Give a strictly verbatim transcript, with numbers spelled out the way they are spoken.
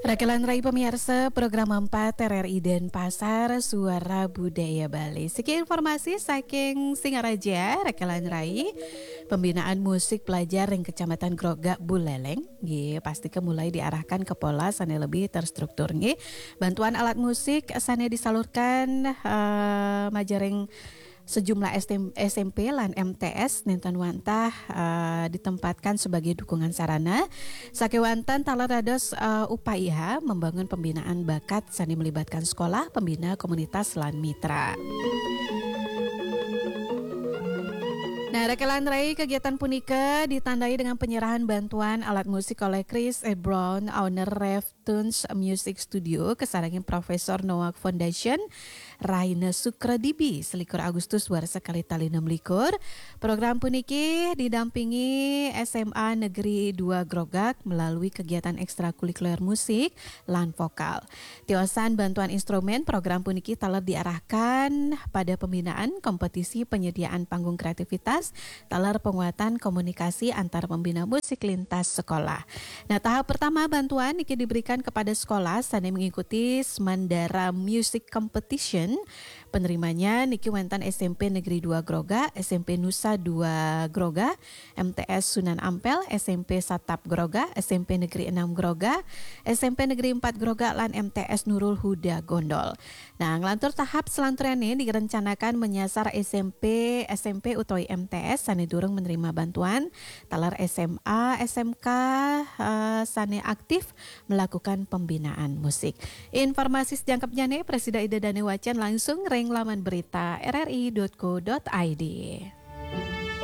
Rakelan Rai pemirsa, program empat R R I Denpasar, Suara Budaya Bali. Sekian informasi saking Singaraja, Rakelan Rai. Pembinaan musik pelajar ring Kecamatan Grogak Buleleng, nggih, pasti ke mulai diarahkan ke pola sane lebih terstruktur, nggih. Bantuan alat musik sane disalurkan, eh, majaring sejumlah S M P lan M T S nenten wantah, eh, ditempatkan sebagai dukungan sarana. Sakewanten taler dados, eh, upaya membangun pembinaan bakat sane melibatkan sekolah, pembina komunitas lan mitra. Nah, Rakelan Rai, kegiatan punika ditandai dengan penyerahan bantuan alat musik oleh Chris A. Brown, owner Ref Tunes Music Studio, kasarengin Profesor Nowak Foundation, Raina Sukradibi, selikur Agustus warsa kalih tali enam likur. Program puniki didampingi S M A Negeri dua Grogak melalui kegiatan ekstrakurikuler musik lan vokal. Tiosan bantuan instrumen, program puniki taler diarahkan pada pembinaan kompetisi penyediaan panggung kreativitas, taler penguatan komunikasi antar pembina musik lintas sekolah. Nah, tahap pertama bantuan niki diberikan kepada sekolah sane mengikuti Smandara Music Competition. Penerimanya niki wenten S M P Negeri dua Grogak, S M P Nusa dua Grogak, M T S Sunan Ampel, S M P Satap Grogak, S M P Negeri enam Grogak, S M P Negeri empat Grogak, lan M T S Nurul Huda Gondol. Nah, nglantur tahap selanturnya direncanakan menyasar S M P, S M P utawi M T S sane durung menerima bantuan, taler S M A, S M K, eh, sane aktif melakukan pembinaan musik. Informasi sejangkepnyane prasida Ida dane wacan langsung ring laman berita R R I dot co dot I D.